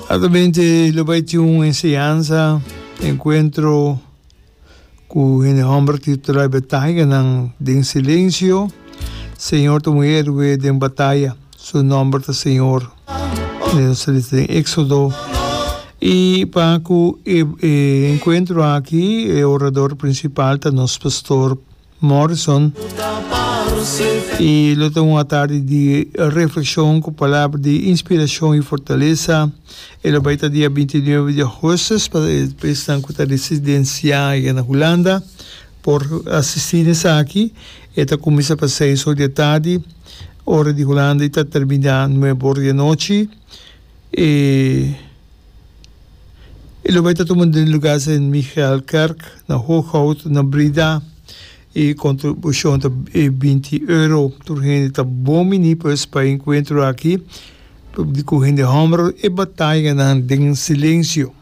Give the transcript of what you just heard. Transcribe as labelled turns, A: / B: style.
A: Altamente lo bai tin un enseñansa, encuentro cu hende homber titula E Batayanan den Silencio. Señor ta un héroe den bataya, su nomber ta Señor. Nos ta lesa den Éxodo. Y pa cu e encuentro aki e orador principal ta nos pastor Morrison y lo ta un atardi di reflexion cu palabra di inspiracion y fortaleza. E lo bay ta dia 29 di augustus pa esnan cu ta residencia ya na Hulanda por asisti na esaki. E ta cuminsa pa seis or di atardi ora di Hulanda y ta termina nuebe or di anochi. E lo bai ta tuma den lugar Sint Michaelkerk na Hooghout na Breda. E kontribushon ta e binti euro. Tur hende ta bon bini pues pa e enkuentro aki di ku hende hòmber e batayanan den silensio.